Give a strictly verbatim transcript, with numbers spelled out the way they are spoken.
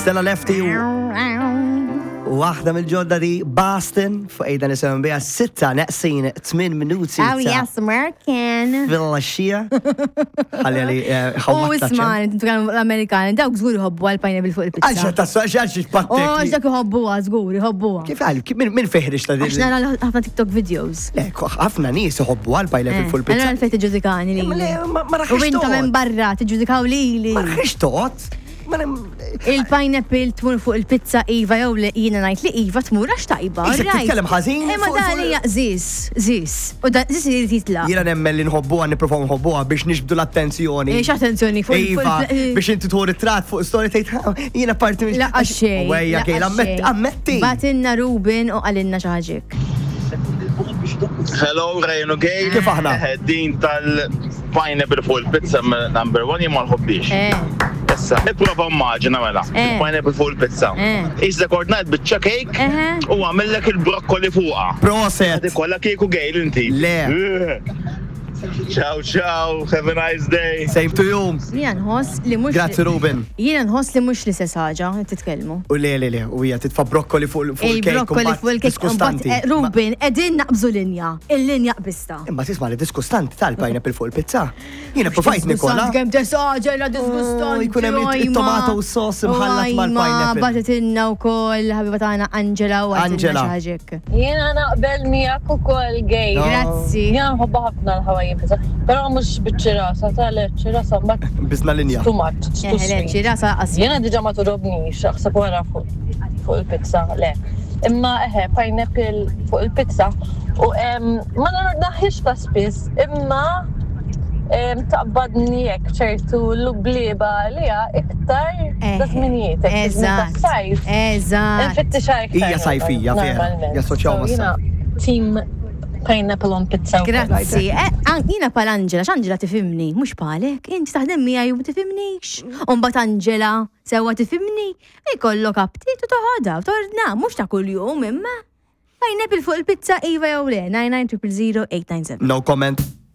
Stella Lefty u waħda mill-ġodda di Boston fuq ejda nisimgħu biha sitta neqsin tmien minuti. Oh yes, American. Fil-xija. Ħalli għalli U isma, l-Amerikani, dawk żgur jħobbu għal pineapple fuq il-pizza. Għalxa ta' għalxa pattek. Oh, dak jħobbuha, żgur, jħobbuha. Kif għal, min feħrix ta' Għax nara ħafna TikTok videos. Le, ħafna nies iħobbu għal pineapple fuq il-pizza. Għana għalfejn tiġġudikani li. Ma U inta minn barra tiġġudikaw lili. Ma rħix toqgħod. Il-pineapple tmur fuq il-pizza iva jew li jiena ngħid li iva tmur għax tajba. Issa titkellem ħażin Imma fuq- dan fuq- hija żis, żis. U dan żis irid jitlaq. Jiena nemmen li nħobbuha, nipprovaw nħobbuha biex nixbdu l-attenzjoni. Eh, x'attenzjoni fuq il- Iva, fuq il- biex inti tħur it-trat fuq story tgħid "Ha, jiena parti minn. Laqqa xejn. Wejja laqqa Kejla, ammetti, xejn. ammetti. Batinna Ruben u qalilna xi ħaġa. Hello, Ryan u Gail. Kif aħna? Eh, Din tal-pineapple fuq il-pizza number one jien ma nħobbix. Eh, Issa, ipprova immaġina mela, Eh. il-pineapple fuq il-pizza. Eh. Iżda ordnajt biċċa cake Eħe. u għamillek il-brokkoli fuqha. Proset. Kolla kieku Gail inti. Le. Eh. Ciao, ciao, have a nice day. Same to you. Jiena nħoss li mhux. Grazzi Ruben. Jiena nħoss li mhux l-istess ħaġa qed titkellmu. U le, le, le, u hija titfa' brokkoli fuq fuq il-cake. Il-brokkoli fuq il-cake. Diskustanti. Mbagħad, eh, Ruben, qegħdin naqbżu linja. Il-linja qbista. Imma tisma' li diskustanti tal-pineapple fuq il-pizza. Jiena provajt nikola. Kemm tesaġera disgustanti. Oh, jkun hemm it- it-tomato sauce imħallat mal-pineapple. Bagħtitilna wkoll ħabiba tagħna Angela u Angela. xi ħaġa. Jiena naqbel miegħek ukoll gay. No. Grazzi. Jiena nħobba ħafna l-Hawaiian pizza, però mhux biċ-ċirasa, tal ċirasa mbagħad Bizna linja. too much, it's too Eh, le, sweet. ċirasa qas. Jiena diġà ma togħġobnix, aħseb wara fuq fuq il-pizza, le. Imma eħe, pineapple fuq il-pizza u em, ma nordnaħiex ta' spiss, imma em, taqbadni hekk ċertu lubliba għalija iktar Eh, ta' żminijiet, hekk fi żmien Eżatt. tas-sajf. Eżatt. Nfittixha iktar. Hija sajfija, vera, normalment. jassoċjaw So, mas-sajf. jiena Team pineapple on pizza. wkoll. Grazzi. Eh, an- Jiena pal Angela, x'Angela tifhimni, mhux palek, inti taħdem miegħi u ma tifhimnix. U mbagħad Angela sewwa tifhimni, ikollok aptit u toħodha u tordna, mhux ta' kuljum imma. Pineapple fuq il-pizza iva jew le, nine nine zero zero eight nine seven. No comment.